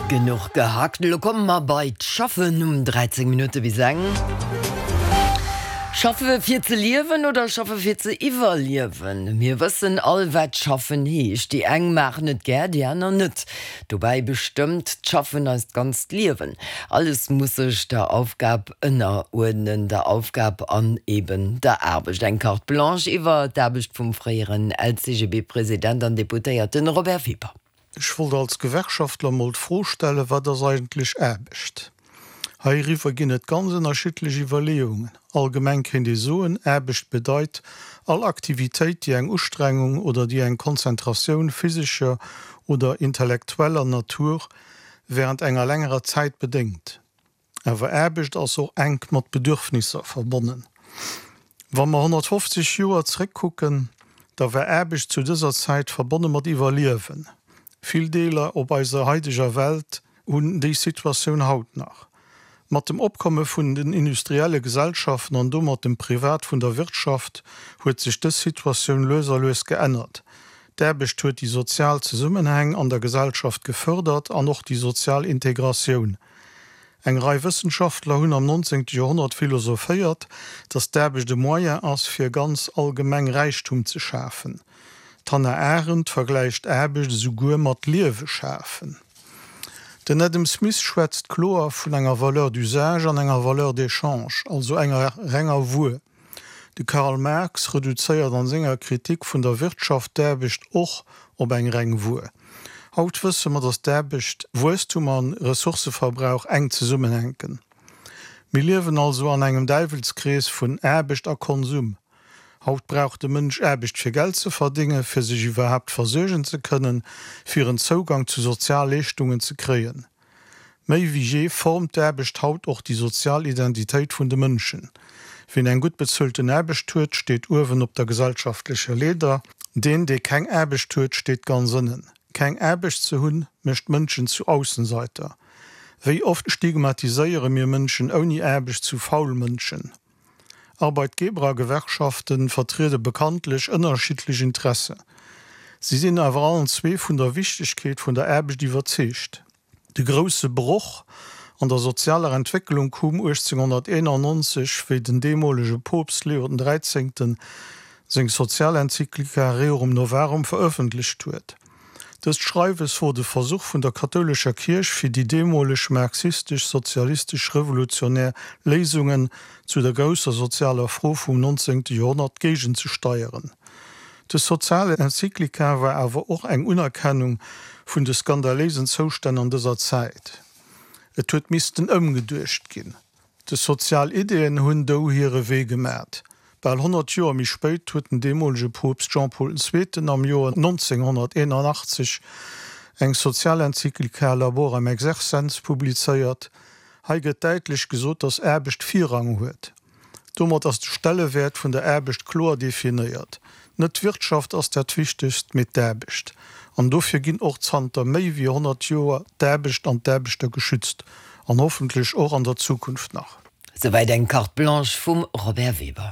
Genuch gehackt, elo komme mer bei d'Schaffen um 13 Minutte bis eng. Schaffe fir ze liewen oder schaffe fir ze iwwerliewen? Mir wëssen all, wat schaffen heescht. Déi eng maachen et gär, déi aner net. Dobäi bestëmmt d'Schaffen eist ganzt Liewen. Alles muss sech der Aufgab ënneruerdnen, der Aufgab an eben der Aarbecht. Eng Carte blanche iwwer d'Aarbecht vum fréieren LCGB-President an Deputéierten Robert Weber. Ech wollt als Gewerkschaftler mol d'Fro stellen, Wat ass eigentlech Aarbecht? Heiriwwer ginn et ganz ënnerschiddlech Iwwerleeungen. Allgemeng kéint ee soen, Aarbecht bedeit all Aktivitéit, déi eng Ustrengung oder déi eng Konzentratioun physescher oder intellektueller Natur während enger längerer Zäit bedéngt. Awer Aarbecht ass och enk mat Bedürfnisser verbonnen. Wa mer 150 Joer zréckkucken, da war Aarbecht zu dëser Zäit verbonne mat Iwwerliewen. Vill Deeler op eiser haideger Welt hunn déi Situatioun haut nach. Mat dem Opkomme vun den industrielle Gesellschaften an domat dem Privat vun der Wirtschaft huet sech dës Situatioun lues a lues geännert. D'Aarbecht huet déi sozial Zesummenhäng an der Gesellschaft gefërdert an och déi sozial Integratioun. Eng Rei Wëssenschaftler hunn am 19. Joerhonnert philosophéiert, datt d'Aarbecht e Moyen ass, fir ganz allgemeng Räichtum ze schafen. D'Hannah Arendt vergläicht Aarbecht esouguer mat Liewe schafen. Den Adam Smith schwätzt kloer vun enger Valeur d'usage an enger Valeur d'échange, also enger renger Wuer. De Karl Marx reduzéiert an senger Kritik vun der Wirtschaft d'Aarbecht och op eng reng Wuer. Haut wësse mer, datt d'Aarbecht, Wuesstum a Ressourcëverbrauch enk zesummenhänken. Mir liewen also an engem Däiwelskrees vun Aarbecht a Konsum. Haut brauch de Mënsch Aarbecht fir Geld ze verdéngen, fir sech iwwerhaapt versuergen ze kënnen, fir en Zougang zu Sozialleeschtungen ze kréien. Méi wéi jee formt d'Aarbecht haut och déi sozial Identitéit vun de Mënschen. Wien eng gutt bezuelten Aarbecht huet, steet uewen op der gesellschaftlecher Leeder. Deen, dee keng Aarbecht huet, steet ganz ënnen. Keng Aarbecht ze hunn, mécht Mënschen zu Aussenseiter. Wéi oft stigmatiséiere mir Mënschen ouni Aarbecht zu faul Mënschen? Arbeitgeber a Gewerkschaften vertriede bekanntlech ënnerschiddlech Interesse. Si sinn awer allen zwee vun der Wichtegkeet vun der Aarbecht iwwerzeegt. De grousse Broch an der sozialer Entwécklung koum 1891, wéi den deemolege Poopst Leo den Dräizéngten seng Sozialenzyklika Rerum Novarum verëffentlecht huet. Dëst Schreiwes wor de Versuch vun der kathoulescher Kierch fir déi deemoleg marxistesch-sozialistesch-revolutionär Léisungen zu der grousser sozialer Fro vum 19. Joerhonnert géigenzesteieren. Dës Sozialenzyklika war awer och eng Unerkennung vun de skandaléisen Zoustänn an dëser Zäit. Et huet missten ëmgeduecht ginn. Des sozial Ideen hunn dou hire Wee gemat. Bal 100 Joer méi spéit huet den deemolege Poopst Jean-Paul den Zweeten am Joer 1981 eng Sozialenzyklika Laborem Exercens publizéiert. Hei gëtt däitlech gesot, dass Aarbecht Virrang huet. Domat ass de Stellewäert vun der Aarbecht kloer definéiert. Net d'Wirtschaft ass dat Wichtegst, mee d'Aarbecht. An dofir ginn och zanter méi wéi 100 Joer d'Aarbecht an d'Aarbechter geschützt. An hoffentlech och an der Zukunft nach. Souwäit eng Carte blanche vum Robert Weber.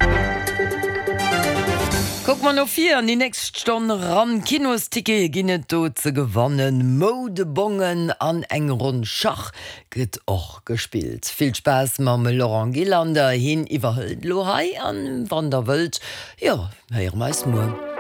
Kucke mer no vir an déi nächst Stonn eran. Kinostickete ginn et do ze gewannen, Moudebongen an eng Ronn Schach gëtt och gespillt. Vill Spaass mam Laurent Gillander, hien iwwerhëlt elo hei an wann der wëllt, jo, héiere mer eis muer.